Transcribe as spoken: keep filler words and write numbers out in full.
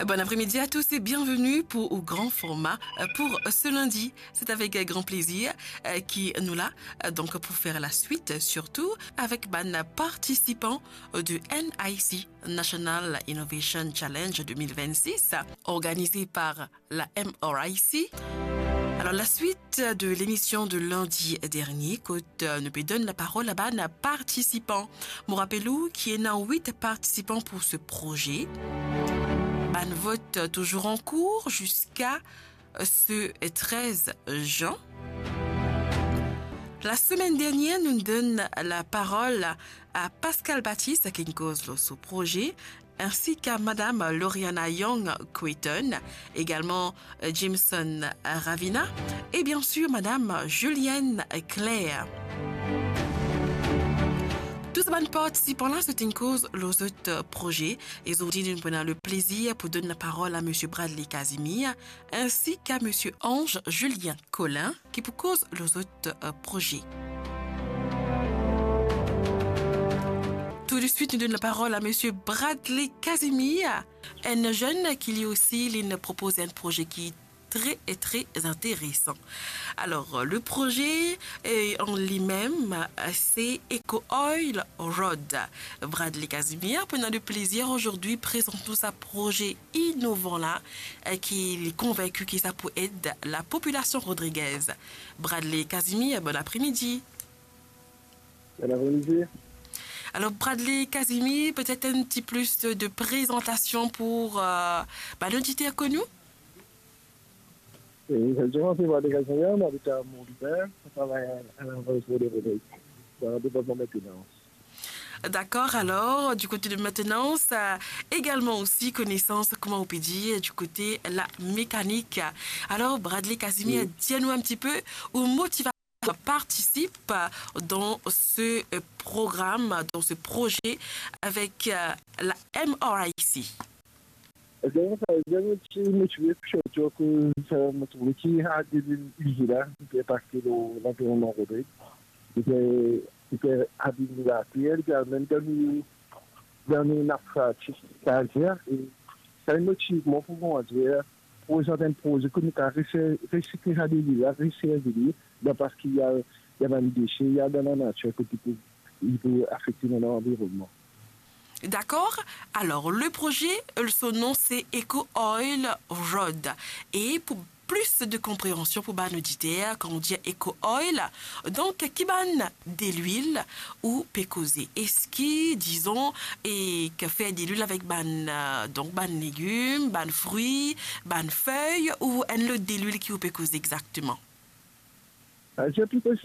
Bon après-midi à tous et bienvenue pour au grand format, euh, pour ce lundi. C'est avec, euh, grand plaisir, euh, ki nou la, euh, donc pour faire la suite, euh, surtout avec bann participan, euh, de N I C, National Innovation Challenge deux mille vingt-six, organisé par la M R I C. Alors, la suite de l'émission de lundi dernier, kot, euh, nou pe donn laparol a bann participan. Mo rapel ou ki ena wit participan pour ce projet. Bann vot, euh, toujours en cours jusqu'à, euh, ce treize juin. La semaine dernière, nou donn laparol a Pascal Baptiste, ki inn koz lor so proze, ainsi qu'à Madame Lauriana Young Quayton, également, euh, Jameson Ravina, et bien sûr Madame Julienne Claire. Tou sa bann partisipan la, zot inn koz lor zot, euh, proze, e zordi nou pou ena le plezir pou donn laparol a Monsieur Bradley Casimir, ainsi qu'à Monsieur Ange Julien Colin, ki pou koz lor zot, euh, proze. Tout de suite, nou donn laparol a Monsieur Bradley Casimir, enn zenn ki li osi, li inn propoz enn proze ki tre, tre interesan. Alors, le proze, euh, an limem, euh, se Eco Oil Road. Bradley Casimir, pou nou le plezir zordi, prezant nou sa proze inovan la, euh, ki li konvinki ki sa pou ed lapopilasion rodrigez. Bradley Casimir, bon après-midi. Bon après-midi. Alors, Bradley Casimir, peut-être un petit plus de, de présentation pour, euh, bah, l'auditeur connu. Et je m'appelle Bradley Casimir, j'habite à Mont-Ouvert, je travaille à, à la Royce Rodriguez, dans le département maintenance. D'accord, alors, du côté de maintenance, euh, également aussi connaissance, comment on peut dire, du côté la mécanique. Alors, Bradley Casimir, oui, dis-nous un petit peu, ou motivation participe dans ce, euh, programme, dans ce projet avec, euh, la M R I C. Donk, sa, donk, ti motive pou sirtou akoz, euh, mo trouve ki a de lwil la, li pe inpakte lor lanvironnman Rodrig. Li pe, li pe abim later, li pe al mem dan nou, dan nou nap freatik, setadir, e sa inn motiv mwa pou, kouma dir, prezant enn proze kot nou kapav resi-, resikle sa de lwil la, reservi li, dan parski li al, li al dan dese, li al dan lanatir kot li pou, li pou afekte nou lanvironnman. D'accord. Alors, le projet, euh, son nom, c'est Eco Oil Road. Et pour plus de compréhension pour bann auditeur, quand on dit Eco Oil, donc, ki bann delwil ou pe koze? Eski, dizon, e ki fer delwil avek bann, euh, donc, bann legim, bann frwi, bann fey, ou enn lot delwil ki ou pe koze exakteman? Ah, se pli presi